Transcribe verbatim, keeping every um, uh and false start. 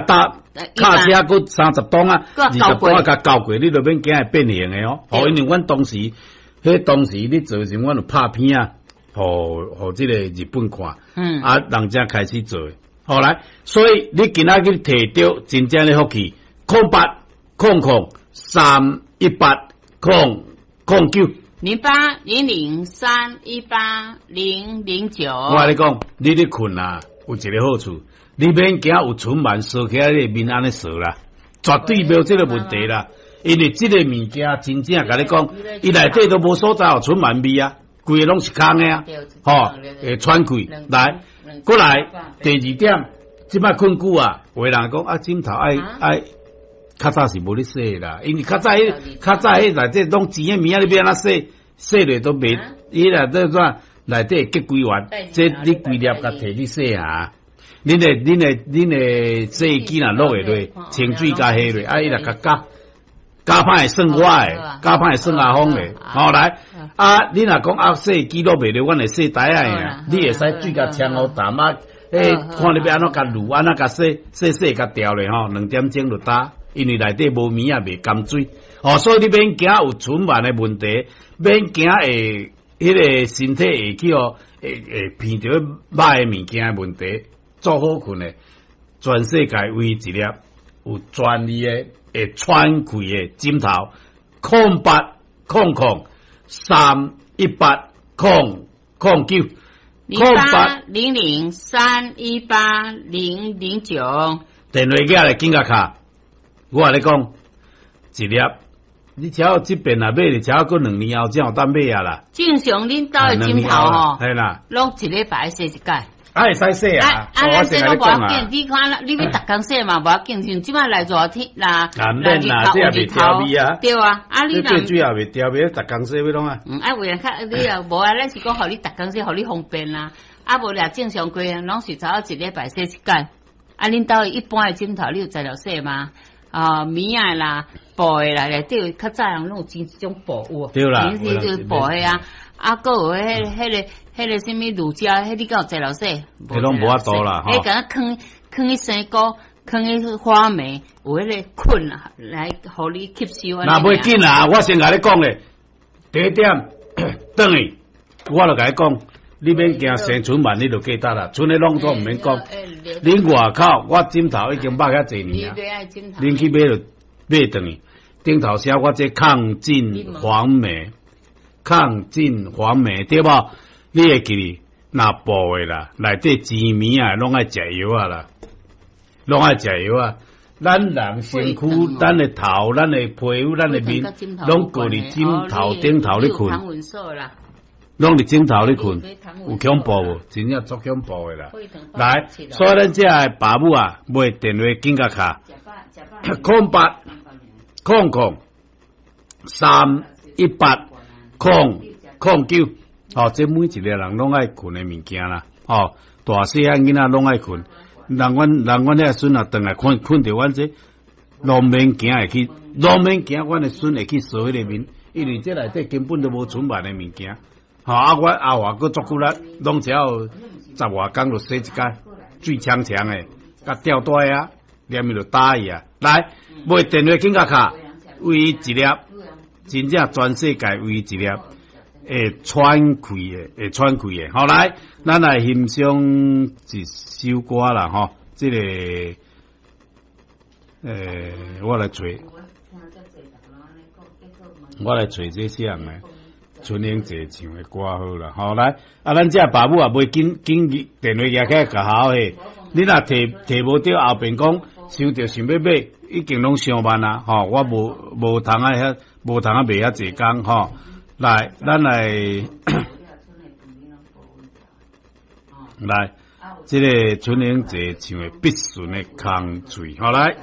搭卡車閣三十噸啊，二十噸啊，共交過，你就免驚會變形的哦。哦，因為阮當時，彼當時咧做時，阮有拍片啊，予予這個日本看，嗯，啊，人才開始做。後來，所以你今仔日提著真正的福氣，空八空空三一八空空九。零八零零三一八零零九。我共你講，你咧睏啊，有一個好處，你免驚有塵蟎踅起來你面按呢踅啦，絕對無這個問題啦。因為這個物件真正共你講，伊內底都無所在予塵蟎味啊，規個攏是空的啊，吼，會喘氣。來，過來第二點，這擺睏久啊，有的人講啊，枕頭愛愛。較早是無咧洗啦，因為較早彼較早彼內底攏錢的物仔，你欲按怎洗？洗落都袂，伊內底怎內底會結規丸，這你規粒共提去洗下。恁的恁的恁的洗衣機若落會落，清水共下落，啊伊若共攪，攪歹會算我的，攪歹會算阿峰的。好來，啊你若講啊洗衣機落袂落，阮會洗台仔的，你會使水共沖予淡啊，欸看你欲按怎共滷，按怎共洗洗洗共調咧吼，兩點鐘就焦。因為內底無物仔袂含水，哦，所以你免驚有塵蟎的問題，免驚會彼個身體會去予會會鼻著歹的物件的問題，做好睏的，全世界唯一一粒有專利的會喘氣的枕頭，空八空空三一八空空九，零八零零三一八零零九，電話寄來緊共敲。我共你講，一粒，你只要這邊若買，你只要閣兩年後才有當買啊啦。正常恁兜的枕頭吼，係啦，攏一禮拜洗一擺。啊會使洗啊！啊，咱這攏無要緊，你看，你欲逐工洗嘛無要緊，像這擺來熱天啦，啊免啦，這也袂調味啊。對啊，啊你最主要袂調味，逐工洗欲創啊？嗯，啊為了較你也無啊，咱是講予你逐工洗，予你方便啦。啊無掠正常規攏是差不多一禮拜洗一擺。啊，恁兜一般的枕頭你有材料洗嗎？啊，棉仔啦，布的啦，內底較早人攏有穿這種布有無？對啦，就是布的啊。啊，閣有彼彼個彼個啥物乳膠，彼你敢有材料洗？彼攏無法度啦，彼敢若囥囥去生果，囥去花梅，有彼個菌啊，來予你吸收。若袂緊啊，我先共你講咧，第一點，轉去，我就共你講，你免驚生塵蟎，你就記得啦，賰的攏總毋免講。恁外口，我枕頭已經抹遐濟年啊，恁去買就買轉去，頂頭寫我這抗菌防霉，抗菌防霉對無？你會記得若布的啦，內底錢物仔攏愛食藥仔啦，攏愛食藥仔。咱人身軀、咱的頭、咱的皮膚、咱的面，攏閣佇枕頭頂頭咧睏，攏佇枕頭咧睏，有恐怖無？真正足恐怖的啦！來，所以咱這个爸母啊，買電話緊共敲，空八空空三一八空空九，哦，這每一個人攏愛睏的物件啦，哦，大細漢囡仔攏愛睏。人阮人阮遐孫啊，轉來睏睏著阮這，攏免驚會去，攏免驚阮的孫會去踅彼個面，因為這內底根本就無塵蟎的物件。吼啊！我阿華閣足骨力，攏只要十外工就洗一擺，水戕戕的，共吊帶啊，連伊就焦去啊。來，買電話緊共敲，唯一一粒，真正全世界唯一一粒會喘氣的，會喘氣的。好來，咱來欣賞一首歌啦，吼，這個，欸，我來揣，我來揣這啥人呢？春英姐唱的歌好啦，好來，啊，咱這爸母也袂緊緊電話舉起來共好嘿，你若提提無著後邊講，想著想欲買，已經攏傷慢啦，吼，我無無通啊遐，無通啊賣遐濟工吼，來，咱來，來，這個春英姐唱的筆順的空喙，好來。